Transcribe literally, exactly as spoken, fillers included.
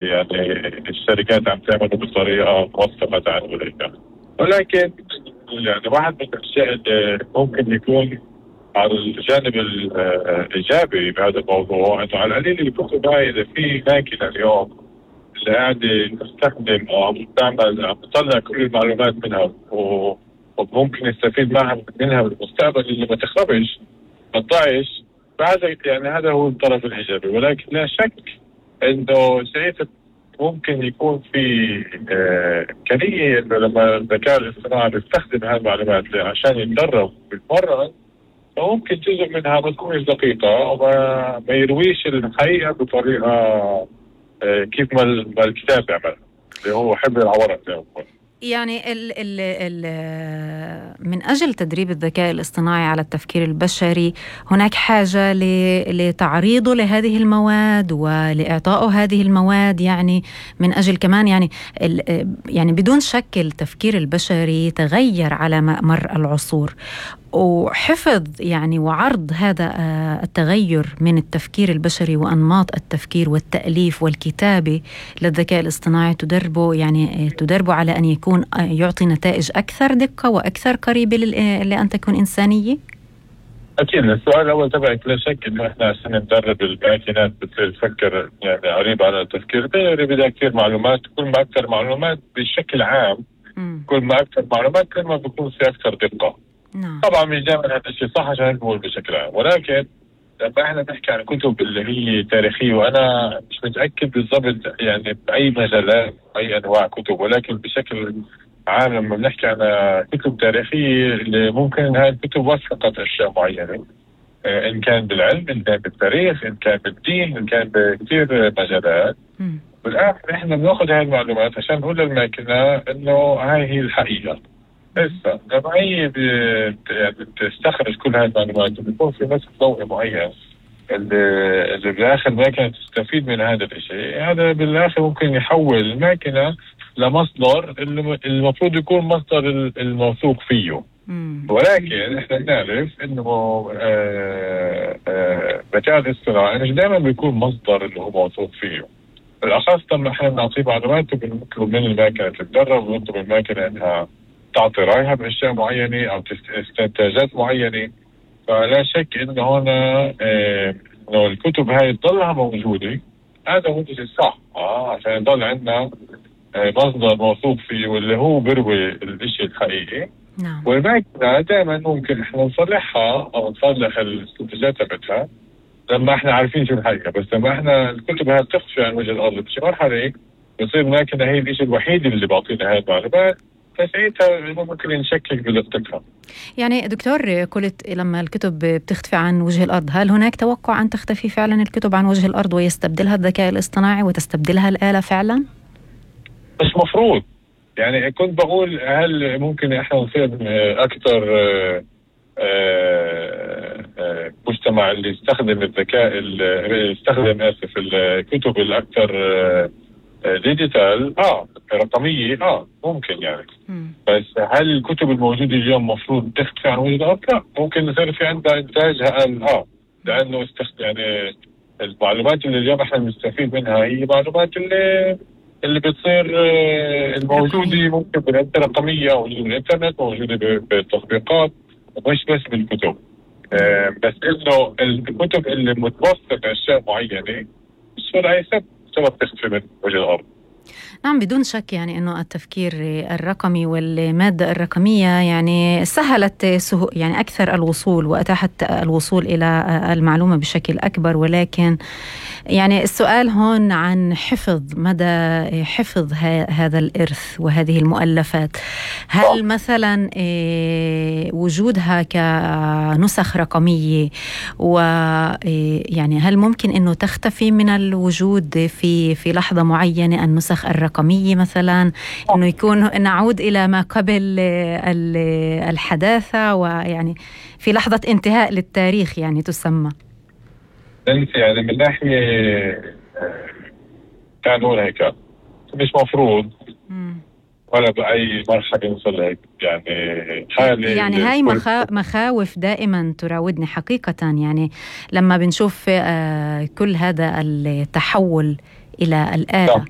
يعني الشركات عم تعمله بطريقة موثقة تعال، ولكن يعني واحد من الأشياء اللي ممكن يكون على الجانب الإيجابي بهذا الموضوع إنه على القليل الكتب هاي إذا في ماكينة اليوم اللي قاعدة تستخدم أو عم تعمل عم تطلع كل المعلومات منها وممكن يستفيد معها منها بالمستقبل اللي ما تخربش ما تضيعش، فهذا يعني هذا هو الطرف الإيجابي. ولكن لا شك إنه ساعتها ممكن يكون في إمكانية إنه لما الذكاء الاصطناعي بيستخدم هذه المعلومات عشان يتدرب بالمرة، فممكن جزء منها ما تكونش دقيقة وما ما يرويش الحقيقة بطريقة كيف ما الكتاب بيعمل اللي هو حبر على ورق. يعني ال ال ال من أجل تدريب الذكاء الاصطناعي على التفكير البشري هناك حاجة لتعريضه لهذه المواد ولإعطائه هذه المواد، يعني من أجل كمان يعني يعني بدون شك التفكير البشري تغير على مر العصور، وحفظ يعني وعرض هذا التغير من التفكير البشري وأنماط التفكير والتأليف والكتابة للذكاء الاصطناعي تدربه يعني تدربه على أن يكون يعطي نتائج أكثر دقة وأكثر قريبة لأن تكون إنسانية. أكيد السؤال الأول تبعك لا شك إنه إحنا عشان ندرب الماكينات بتصير تفكر يعني قريب على التفكير البشري بدها كثير معلومات، كل ما أكثر معلومات بشكل عام م. كل ما أكثر معلومات كل ما بيكون في أكثر دقة. نعم. طبعا مش دائما هذا الشيء صح عشان نقول بشكل عام، ولكن لما احنا بنحكي عن كتب اللي هي تاريخيه وانا مش متاكد بالضبط يعني باي مجالات اي انواع كتب، ولكن بشكل عام لما بنحكي عن كتب تاريخيه اللي ممكن هاي الكتب وثقت اشياء معينه، ان كان بالعلم ان كان بالتاريخ ان كان بالدين ان كان بكثير مجالات. بالاخر احنا بناخذ هاي المعلومات عشان نقول للماكينه انه هاي هي الحقيقه. لسه لما هي بتستخرج كل هاي المعلومات بيكون في نسق ضوئي معين اللي, اللي بالاخر الماكينه تستفيد من هذا الشيء، هذا بالاخر ممكن يحول الماكينه لمصدر اللي المفروض يكون مصدر الموثوق فيه. مم. ولكن احنا نعرف انه الذكاء الاصطناعي مش دائما بيكون مصدر اللي هو موثوق فيه، بالاخص لما احنا بنعطيه معلومات وبنطلب من الماكينه تتدرب ونطلب من الماكينه انها تعطي رأيها بأشياء معينة أو استنتاجات معينة. فلا شك إنه هنا إيه إنه الكتب هاي تضلها موجودة، هذا هو الشيء الصح آه عشان يضل عندنا إيه مصدر موثوق فيه واللي هو بروي الشيء الحقيقي. نعم. والماكينة دائما ممكن إحنا نصلحها أو نصلح الاستنتاجات تبعتها لما إحنا عارفين شو الحقيقة، بس لما إحنا الكتب هاي بتخفي عن وجه الأرض بشي مرحلة بصير الماكينة هي الشيء الوحيد اللي بعطينا هاي المعلومات، فساعتها ممكن نشكك بدقتها. يعني دكتور قلت لما الكتب بتختفي عن وجه الأرض، هل هناك توقع أن تختفي فعلا الكتب عن وجه الأرض ويستبدلها الذكاء الاصطناعي وتستبدلها الآلة فعلا؟ مش مفروض، يعني كنت بقول هل ممكن احنا نصير أكثر مجتمع اللي يستخدم الذكاء اللي يستخدم آسف الكتب الأكثر ديجيتال اه رقميه اه ممكن يعني م. بس هل الكتب الموجوده اليوم مفروض تختفي عن وجه الارض؟ لا، ممكن يصير في عندها انتاجها اقل اه لانه استخدم يعني المعلومات اللي اليوم احنا بنستفيد منها هي معلومات اللي اللي بتصير آه الموجوده ممكن بالانترنت رقميه او بالانترنت موجوده بالتطبيقات مش بس بالكتب. آه بس انه الكتب اللي متوثقه اشياء معينه مش ولا سبب سبب تختفي من وجه الأرض. نعم بدون شك، يعني أنه التفكير الرقمي والمادة الرقمية يعني سهلت سهو يعني أكثر الوصول وأتاحت الوصول إلى المعلومة بشكل أكبر، ولكن يعني السؤال هون عن حفظ مدى حفظ هذا الإرث وهذه المؤلفات. هل مثلا وجودها كنسخ رقمية ويعني هل ممكن أنه تختفي من الوجود في في لحظة معينة النسخ الرقمية مثلا، أنه يكون نعود إلى ما قبل الحداثة ويعني في لحظة انتهاء للتاريخ يعني تسمى؟ انت يعني من ناحيه كان هون هيك مش مفروض، ولا بأي مرحلة نوصل هيك. يعني حالة يعني هاي مخا... مخاوف دائما تراودني حقيقة. يعني لما بنشوف كل هذا التحول إلى الآلة